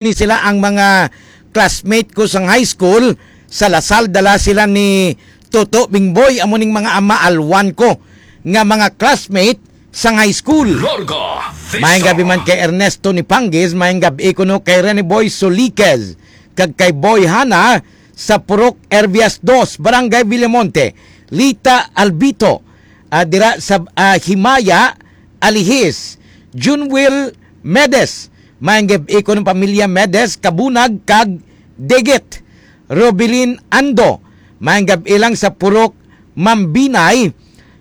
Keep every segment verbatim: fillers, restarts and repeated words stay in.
ni sila ang mga classmate ko sang high school. Sa Lasal, dala sila ni Toto Bingboy, amo ning mga ama alwan ko nga mga classmate sang high school. Larga Vista. Maayong gabi man kay Ernesto ni Panggis, maayong gabi kuno kay Rene Boy Soliquez, kag kay Boy Hana sa Purok Ervias dos, Barangay Villamonte, Lita Albito, ah, dira sa, ah, Himaya, Alihis, Junwil Medes, maayong gabi kuno pamilya Medes, Kabunag, kag Digit. Robilin Ando, maayong gabi lang sa Purok Mambinay.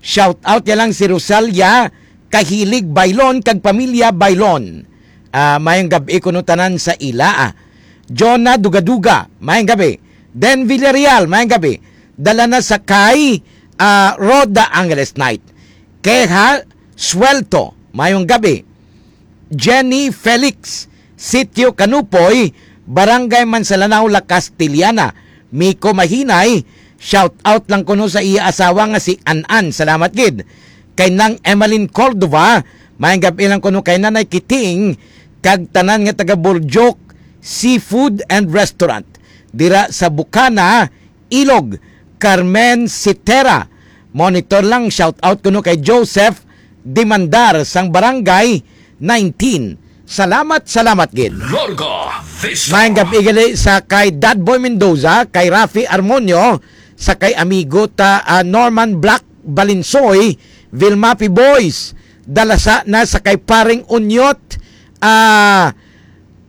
Shout out ya lang si Rosalia Kahilig Bailon kag pamilya Bailon. Ah, maayong gabi kuno tanan sa ila, ah. Jonah Dugaduga, maayong gabi. Den Villarreal, maayong gabi. Dala na sa kay, ah, Rhoda Angeles Knight. Keha Suelto, maayong gabi. Jenny Felix, Sitio Kanupoy, Barangay Mansalanao, La Castellana. Miko Mahinay, shout out lang kuno sa iya asawa nga si An-an. Salamat gid. Kay Nang Emeline Cordova, maayong gabi lang kuno kay Nanay Kiting, kag tanan nga taga Burjok Seafood and Restaurant dira sa Bukana, Ilog, Carmen Sitera. Monitor lang, shout out kuno kay Joseph Dimandar sang Barangay nineteen. Salamat, salamat gid. Larga Vista. Maayong gabi gali sa kay Dad Boy Mendoza, kay Rafi Armonio, sa kay amigo ta, ah, Norman Black Balinsoy, Vilmapi Boys, dala sa na sa kay Paring Unyot, ah,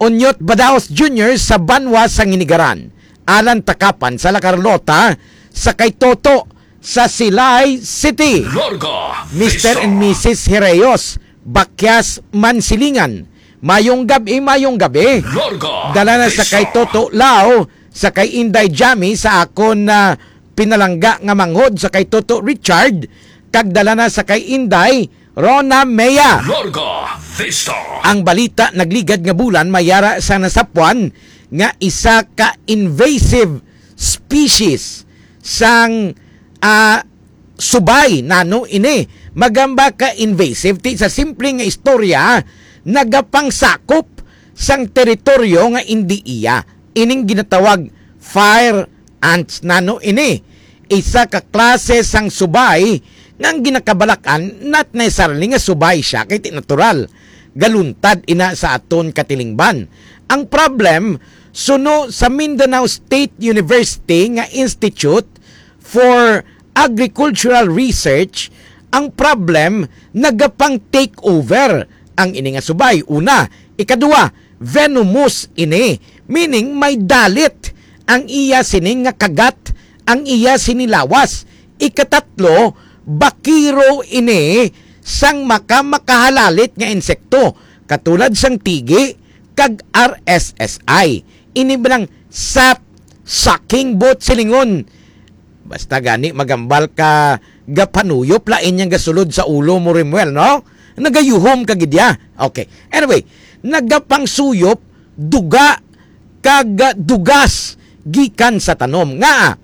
Unyot Badaos Junior sa Banwa sa Nginigaran, Alan Takapan sa La Carlota, sa kay Toto sa Silay City. Larga Mister Vista. And Missus Hereyos, Bakyas Mansilingan. Mayong gabi, mayong gabi. Larga Dala na sa Vista. Kay Toto Lao, sa kay Inday Jami, sa akon na pinalangga nga manghod sa kay Toto Richard, kag dala na sa kay Inday Rona Mea. Larga Vista. Ang balita nagligad nga bulan mayara sa nasapwan nga isa ka invasive species sang, ah, subay. Nano ini? Magamba ka invasive ti sa simple nga istorya, nagapangsakop sang teritoryo nga indi iya. Ining ginatawag fire ants. Nano ini? Isa ka klase sang subay nga ang ginakabalak-an, not necessarily nga subay siya, kay ti natural galuntad ina sa aton katilingban. Ang problem, suno sa Mindanao State University nga Institute for Agricultural Research, ang problem nagapang take over ang ini nga subay. Una, ikaduha, venomous ini, meaning may dalit ang iya sini nga kagat, ang iya sini lawas. Ikatatlo, bakiro ini sang maka-, makahalalit nga insekto, katulad sang tigi kag R S S I. Ini ba lang sap sucking boat silingon? Basta gani magambal ka gapanuyop, lain yang gasulod sa ulo mo, Rimuel, no? Nagayuhom ka gid ya. Okay. Anyway, nagapangsuyop duga kag dugas gikan sa tanom. Nga,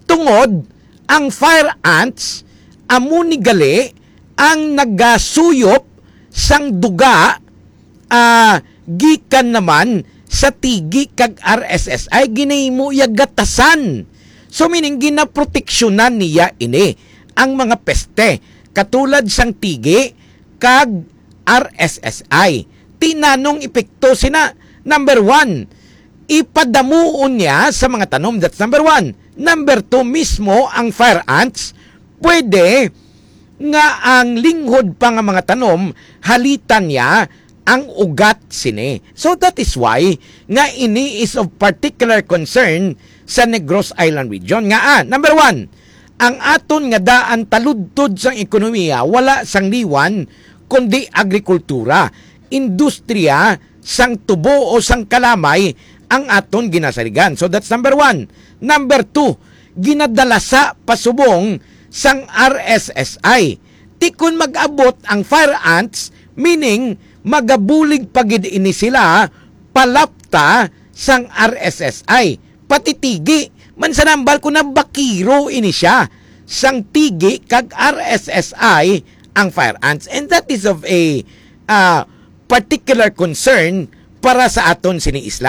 tungod ang fire ants, amo ni gali ang nagasuyop sang duga, ah, gikan naman sa tigi kag R S S I, ginahimo iya gatasan. So, meaning, ginaproteksyonan niya ini ang mga peste, katulad sang tigi kag R S S I. Ti nanong epekto sina? Number one, ipadamuon niya sa mga tanom. That's number one. Number two, mismo ang fire ants, pwede nga ang linghod pa nga mga tanom, halitan niya ang ugat sini. So that is why nga ini is of particular concern sa Negros Island region. Nga, ah, number one, ang aton nga daan taludtod sang ekonomiya wala sang liwan kundi agrikultura, industriya sang tubo o sang kalamay ang aton ginasaligan. So that's number one. Number two, ginadalasa pasubong sang R S S I. Ti kon mag-abot ang fire ants, meaning magabulig pa gid ini sila palapta sang R S S I. Pati tigi, mansanambal ko na bakiro ini siya. Sang tigi kag R S S I ang fire ants. And that is of a, ah, particular concern para sa aton sini isla.